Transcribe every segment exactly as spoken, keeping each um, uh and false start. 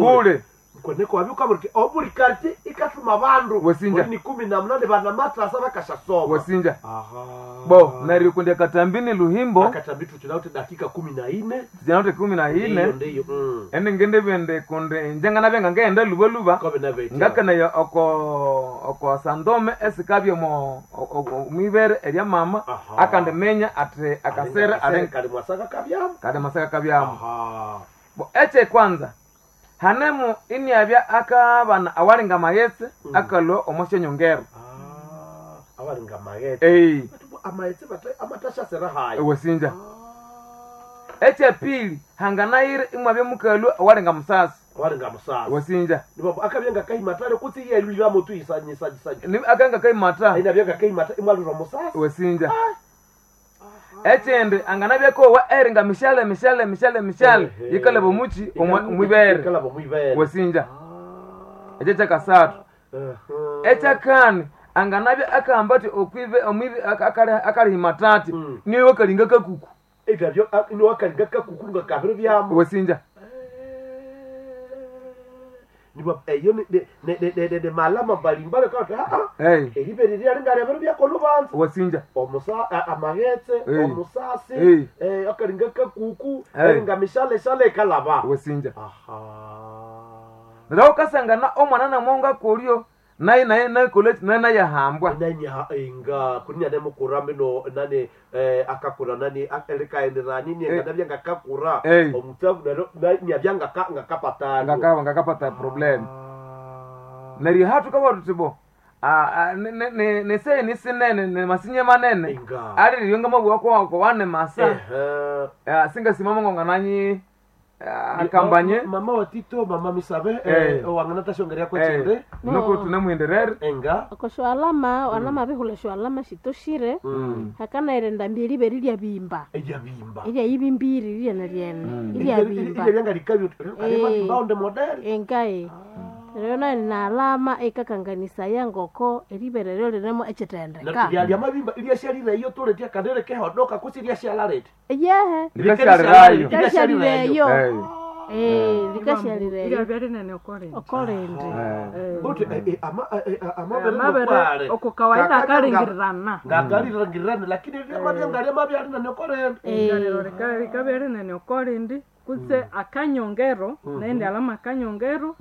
Bule. Kweneko wabyuka obuli quartier ikatuma bandu Wesinja. ni kumi na mnane bana matrasa bakashasoma. Wesinja. Aha. Bo neryo kundi akatambini Luhimbo akatambi tuchinaute dakika kumi na ine zinaote kumi na ndiyo ine ndiyo mm. ende ngende bende kundi njengana byenga ngenda luba luba Kobe na beti ngakanayo oko oko sandome esikabye mo mwibere erya mama Aha. akandi menya ati akasere akasere kali mwasaka kabyamu kade masaka kabyamu aha bo eche kwanza hanemu iniabya akabana awalinga mayetse Mm. akalwa omoshe nyongero ah abalinga maghetse ei amaghetse bata amatashasera hayo wesinja eche pili hanganayire imwabya mukalwa awalinga musasi abalinga musasa wesinja nibabu akabyenga kahimatale kutsi yelwira mutu isanyisanyisanya Ni- akanga kaimata aina byenga kahimata imwalwira musasa wesinja echindi anganabyakowa eringa mishale mishale mishale mishale Ehe. yikalaba omuchi omwibere ikalaba mwibere wesinja ekyo kyakasathu ekyakani anganabya akahamba ati okwibe omwibe akalihimatati Mm. niwe kalinga kakuku ebyo niwakalinga kakuku nga kabiri byamu wesinja niba eyo ne- ne- ne- ne- ne- ne malama mbalimbali kati aa hey. eribere lyalinga lyabiri byakolubanza wesinja omusa a- amaghetse Ei. omusasi Ei. eh, akalinga kakuku Ei. eringa mishaleshale ikalaba wesinja aha neryo ukasangana omwana namwonga kolyo naye naye nakoleki naye nayahambwa nanya inga kunia nemukura mino nani eh, akakura nani likaenderani Eh. nienga nabya ngakakura Eh. omutsavu nero niabya ngaka ngakapatano ngakaba ngakapata problem neryo hatu kaba tuti bo neseni sinene nemasinye manene inga alilyo ngamabwa kwako wane masa Ehe. Eh, singasimama ngongananyi akambanye Ma- mama wa Tito mama misabe Eh. eh, wangana tashongeria kwechende nuko tunemwenderere enga okosho alama alama bihula sho alama shitoshire Mm. hakanaire ndambi eribere lyabimba eryabimba eryayibimbiri lyene lyene iryabimba iryabya likabyo Eh. kalima model engae rero nayo nalama ikakanganisaya ngoko eribere ryo rinemo echitendeka lyamabimba ilyashalire iyo toletya kandere kehodoka kusi lyashalarete yehe likashalirayo likashalireyo Eh, eh likashalireyo Iryabya rinene okorindi okorindi eh. Uthi eh, eh, ama eh, eh, amabere amabere nokwale. oko kawaida Kakabya nga- akalingirirana ngakalingirirana lakini lyamabya ngalyamabya rinene okorende Inganiro rika- rikabya rinene okorindi kutse akanyongero naende alama akanyongero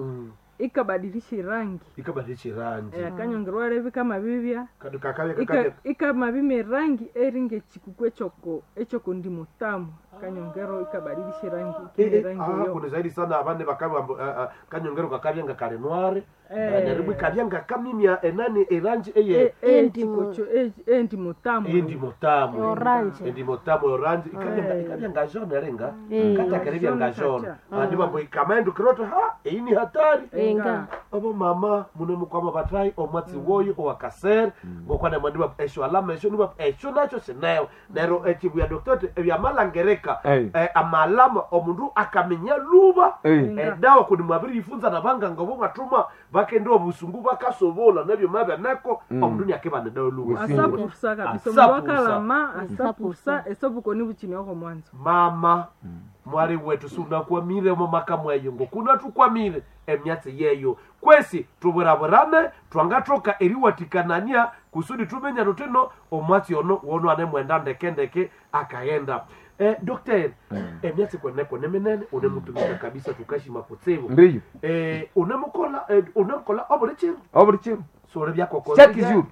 ikabadilisha irangi ikabadilisha irangi Eh, akanyongero walevi kamabibya Kadu kakabya Ika- kakabya ikamabima erangi eringa ekikuku ekyoko ekyoko mutamu akanyongero ikabadilisha irangi Eh, ikina eh, erangi ah, eyo kuno zaidi sana abane bakabya mbu, ah, ah, kanyongero kakabya nga kali noir Eh. neribu ikabya nga kamimya enani erangi eye E- Endimu. ekikuku e- endimo tamu endimo tamu Orange. endimo tamu orange ikabya nga ikabya nga jaune eringa Eh. katakerebya nga Jaune jaune kacha. andi bambo ikamaendu kiroto ha iyi ni hatari enga abo mama mune mukwama batrai omwatsi woyo owakasere ngokwana mwandiba esho alama esho niba esho nacho sineyo nero echibuya doktote ebyamalangereka Ei. eh, amalama omundu akamenya luba Ei. edawa kundi mwabiri yifunza nabanganga bo mwatuma bakende obusungu bakasobola nabyo mabyaneko omundu niakeba nedawa luba Wesinja. asapursa kabisa omundu Asapursa. akalama asapursa esobuko nibuchini oko mwanzo mama mwali wetu sunakwamire mumaka mweyo ngokuna tukwamire emyatsi yeyo kwesi tuburaburane twangathoka eriwatikanania kusudi tumenya tutino omwatsi ono wono anemwenda ndekendeke akaghenda eh, dokter emyatsi kweneko neminene unemutumika kabisa tukashima kutsibu ndiyo eh, unemukola eh, unemukola obuli chiro obuli chiro sore byakokonze chaque jour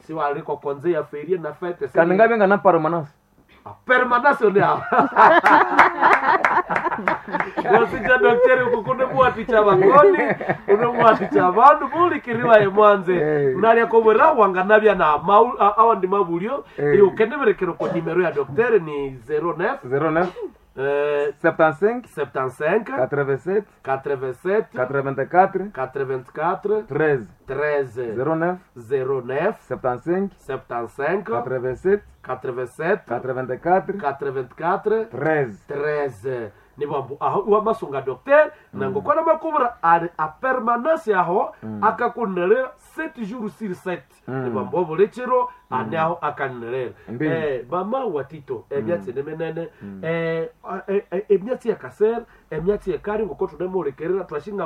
siwalikokonze ya ferie na fete kandi ngabya nga na permanence permanence ni hapa wasija daktari ukukunemwaticha vangoni unemwaticha vandu mulikiriwa emwanze Eh. nalyakovera wanganavya na mau- a- awa ndi mavulyo Eh. iukeneverekero ko nimero ya daktari ni zero nine zero neuf eh, septante-cinq septante-cinq quatre-vingt-sept quatre-vingt-sept quatre-vingt-quatre quatre-vingt-quatre treize treize zero neuf zero nine septante-cinq septante-cinq quatre-vingt-sept quatre-vingt-sept quatre-vingt-quatre quatre-vingt-quatre treize treize Nibambu aho iwamasunga docteur nangokwana makubura ali a permanence aho akakunelera sept jours sur sept. Nibambu obuli kiro ane aho akanelera. Ndiyo. Eh, mama wa Tito, emyatsi ni minene, eh, eh, eh, emyatsi ya kasere, emyatsi yekari ngoko tunemuhulikirira twashinga.